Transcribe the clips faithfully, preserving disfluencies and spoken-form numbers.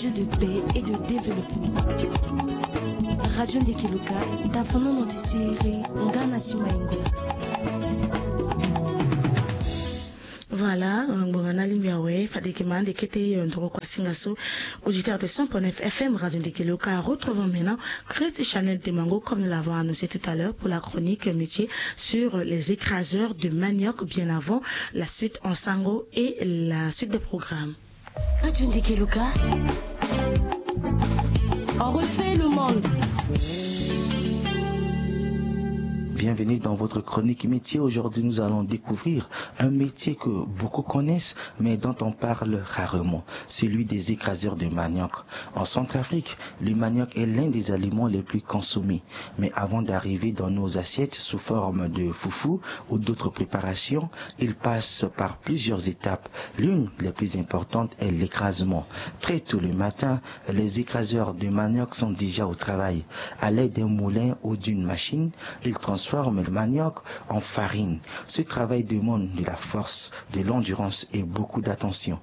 De paix et de développement. Radio Ndekeloka, tafono notisieri, ngana simaingo. Voilà, ngbonga na lingbi awe, fadeke ma ande kete yo ndoko kwa singa so, auditeur de cent point neuf F M Radio Ndekeloka, retrouvons maintenant Christ Chanel Demango, comme nous l'avons annoncé tout à l'heure, pour la chronique métier sur les écraseurs de manioc, bien avant la suite en sango et la suite des programmes. Radio Ndekeloka. On refait le monde. Bienvenue dans votre chronique métier. Aujourd'hui, nous allons découvrir un métier que beaucoup connaissent, mais dont on parle rarement, celui des écraseurs de manioc. En Centrafrique, le manioc est l'un des aliments les plus consommés. Mais avant d'arriver dans nos assiettes sous forme de foufou ou d'autres préparations, il passe par plusieurs étapes. L'une des plus importantes est l'écrasement. Très tôt le matin, les écraseurs de manioc sont déjà au travail. À l'aide d'un moulin ou d'une machine, ils transforment le manioc en farine. Ce travail demande de la force, de l'endurance et beaucoup d'attention.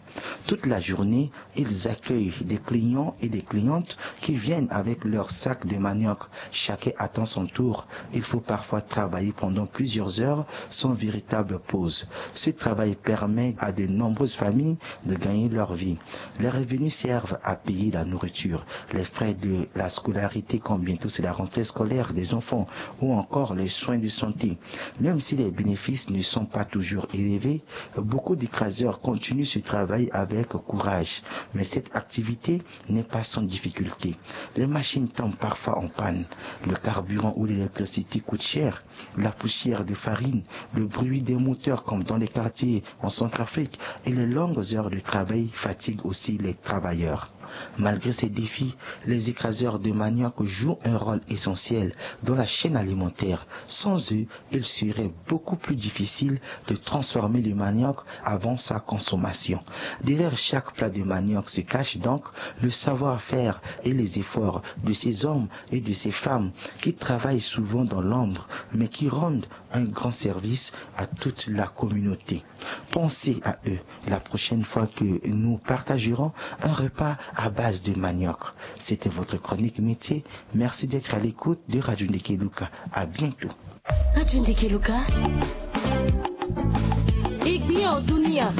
Toute la journée, ils accueillent des clients et des clientes qui viennent avec leur sac de manioc. Chacun attend son tour. Il faut parfois travailler pendant plusieurs heures sans véritable pause. Ce travail permet à de nombreuses familles de gagner leur vie. Les revenus servent à payer la nourriture, les frais de la scolarité, quand bientôt c'est la rentrée scolaire des enfants, ou encore les soins de santé. Même si les bénéfices ne sont pas toujours élevés, beaucoup d'écraseurs continuent ce travail avec courage. Mais cette activité n'est pas sans difficulté. Les machines tombent parfois en panne. Le carburant ou l'électricité coûte cher. La poussière de farine, le bruit des moteurs comme dans les quartiers en Centrafrique et les longues heures de travail fatiguent aussi les travailleurs. Malgré ces défis, les écraseurs de manioc jouent un rôle essentiel dans la chaîne alimentaire. Sans eux, il serait beaucoup plus difficile de transformer le manioc avant sa consommation. Derrière chaque plat de manioc se cache donc le savoir-faire et les efforts de ces hommes et de ces femmes qui travaillent souvent dans l'ombre, mais qui rendent un grand service à toute la communauté. Pensez à eux la prochaine fois que nous partagerons un repas à base de manioc. C'était votre chronique métier. Merci d'être à l'écoute de Radio Ndekeluka. À bientôt. Radio Ndekeluka. Igbia o dunia.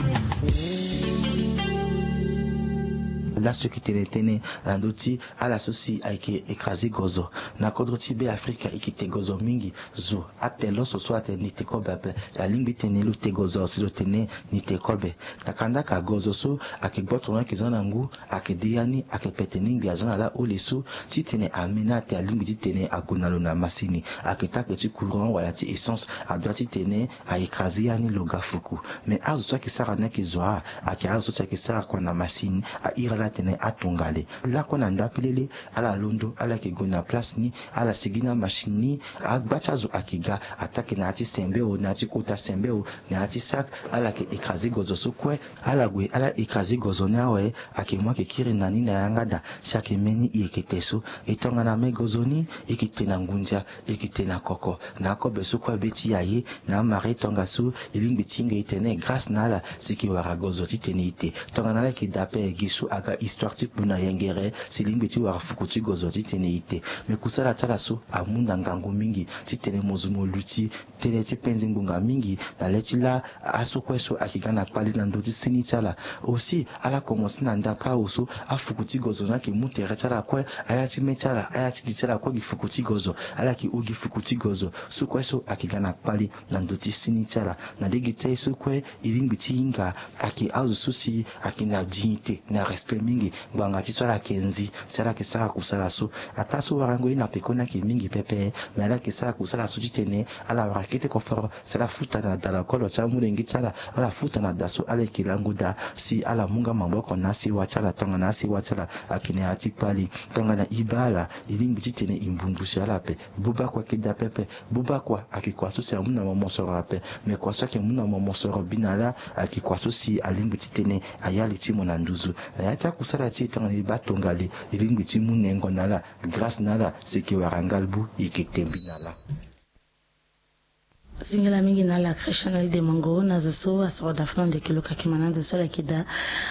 Laso e yeke tene tënë na ndö ti ala so si ayeke écrasé gozo na kodro ti Be Afrika, e yeke te gozo mingi. Zo atene lo so so atene ni te kobe ape. Alingbi tene lo te gozo si lo tene ni te kobe. Na kandaka gozo so ayeke gboto ni ayeke za na ngu, ayeke de ya ni ayeke pete ni ngbi aza na la hole so titene ame ni ate alingbi titene ague na lo na masini. Ayeke take ti courant wala ti essence, adoit titene a écrasé ya ni lo ga fuku. Mais azo so ayeke sara ni ayeke zo a, ayeke azo so si ayeke sara kua na masini, a iri ala atene atongale. Lakue na ndapelele, ala londo, ala yeke gue na place ni, ala sigi na machine ni, agba ti azo ayeke ga, ataa ke na ya ti sembe o, na ya ti kota sembe o, na ya ti sac, ala yeke écrasé gozo so kue, ala gue, ala écrasé gozo ni awe, ayeke mu ayeke kiri na ni na yanga daa, si ayeke mbeni e yeke te so. E tongana me gozo ni, e yeke te na ngunza, e yeke te na koko, na akobe so kue be ti e aye, na amara e tongaso, e lingbi ti hinga e tene grâce na ala, si e yeke wara gozo titene e te. Tongana ala yeke daa ape, gi so aga histoire ti kpu na yengere, si e lingbi ti wara fuku ti gozo titene e te. Me kusala ti ala so amu na ngangu mingi, titene mo zo mo luti tënë ti penze ngbonga mingi, na le ti laa aso kue so ayeke ga na kpali na ndö ti sini ti ala. Aussi, ala komanse na ndapre awe so, afuku ti gozo ni ayeke mu tere ti ala kue, aya ti mê ti ala, aya ti gi ti ala kue gi fuku ti gozo, ala yeke hon gi fuku ti gozo, so kue so ayeke ga na kpali na ndö ti sini ti ala. Na lege ti aye so kue, e lingbi ti hinga ayeke azo so si ayeke na dignité, na respect mingi, ngbanga ti so ala yeke nzi, si ala yeke sara kusala so. Ataa so warango ye na pekoni ayeke mingi pepe, me ala yeke sara kusala so titene ala wara kete koforo, si ala futa na da lokolo ti amolenge ti ala, ala futa na da so ala yeke lango daa, si ala mu nga maboko na asewa ti ala tongana asewa ti ala ayeke na ya ti kpali. Tongana e baa ala, e lingbi titene e mbu ngu si ala ape. Buba kua ayeke daa pepe. Buba kua ayeke kua so si amu na mo mosoro ape. Me kua so ayeke mu na mo mosoro bi na ala, ayeke kua so si alingbi titene aya li ti mo na nduzu. Na ya ti akusala ti e tongana e baa tongale, e lingbi ti mu nengo na ala, grâce na ala, si e yeke wara ngalbu, e yeke te bi na ala. Zingela mingi na ala Christian El Demango na zo so asoro da fana ndeke lo kaki ma na ndo so ala yeke da.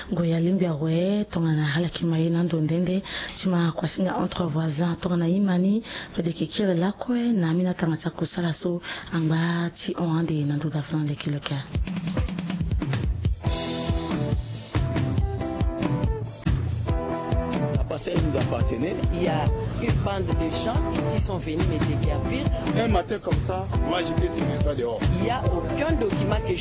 Gue ya lingbi awe tongana ala yeke ma ye na ndo nde nde ti ma kuasinga entre voisins tongana imani. Fade yeke kiri lakue na amina tanga ti akusala so angba ti hon ande na ndo da fana ndeke lo kia. La parcelle nous appartenait. Il y a une bande de gens qui sont venus me déguerpir. Un matin comme ça, moi j'étais tout le temps dehors. Il y a aucun document que j'ai